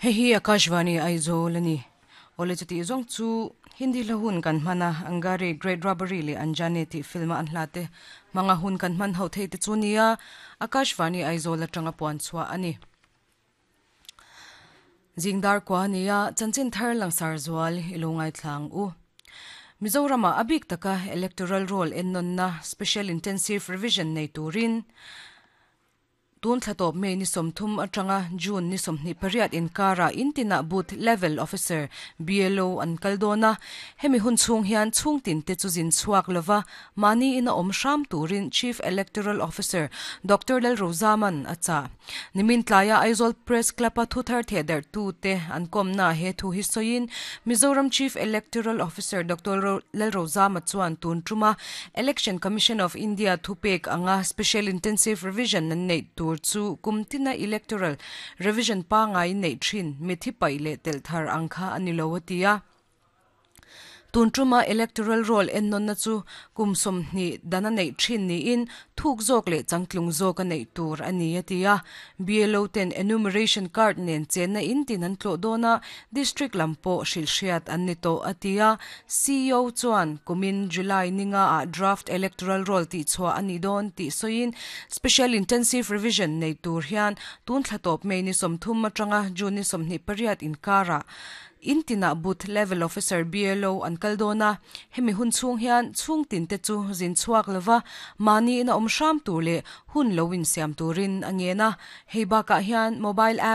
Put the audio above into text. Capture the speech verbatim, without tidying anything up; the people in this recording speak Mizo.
Hei hi Akashvani Aizawl ani. Ole chuti zawng chu Hindi hla hun kan hman a, Angare, Great Robbery leh Anjane tih film a an hla te hmanga hun kan hman ho thei te chu nia Akashvani Aizawl atanga puan chhuah a ni. Zingdar kua nia chanchin thar langsar zual i lo ngaithlang u. Mizorama a bik taka electoral roll ennawnna Special Intensive Revision nei turin tun thla tawp May ni sawmthum atanga June ni sawmhnih pariat inkarah intinah Booth Level Officer, B L O, an kal dawn a. Hemi hun chhung hian chhungtin te chu zin chhuak lova mahni ina awm hram turin Chief Electoral Officer Doctor Lalrozaman a chah. Nimin tlaia Aizawl Press Club-a thuthar thehdarh tute an kawmna he thu hi sawiin Mizoram Chief Electoral Officer Doctor Lalrozama chuan tun tuma Election Commission of India thupek anga Special Intensive Revision an neih tur chu kum tina Electoral Revision pangai neih thin mithi paih leh telh thar ang kha a ni lo a ti a. Tun tuma electoral roll ennawnna chu kum sawmhnih dan a neih thin niin thuk zawk leh changtlung zawk a neih tur a ni a ti a. B L O ten enumeration card nen chenna in tin an tlawh dawn a, district lam pawh hrilhhriat an ni tawh a ti a. C E O chuan kumin July ninga ah draft electoral roll tihchhuah a ni dawn tih sawiin special intensive revision nei tur hian tun thla tawp May ni sawmthum atanga June ni sawmhnih pariat inkarah intinah Booth Level Officer, B L O, an kal dawn a. Hemi hun chhung hian chhungtin te chu zin chhuak lova mahni ina awm hram tur leh hun lo insiam turin a ngen a. Hei bakah hian mobile app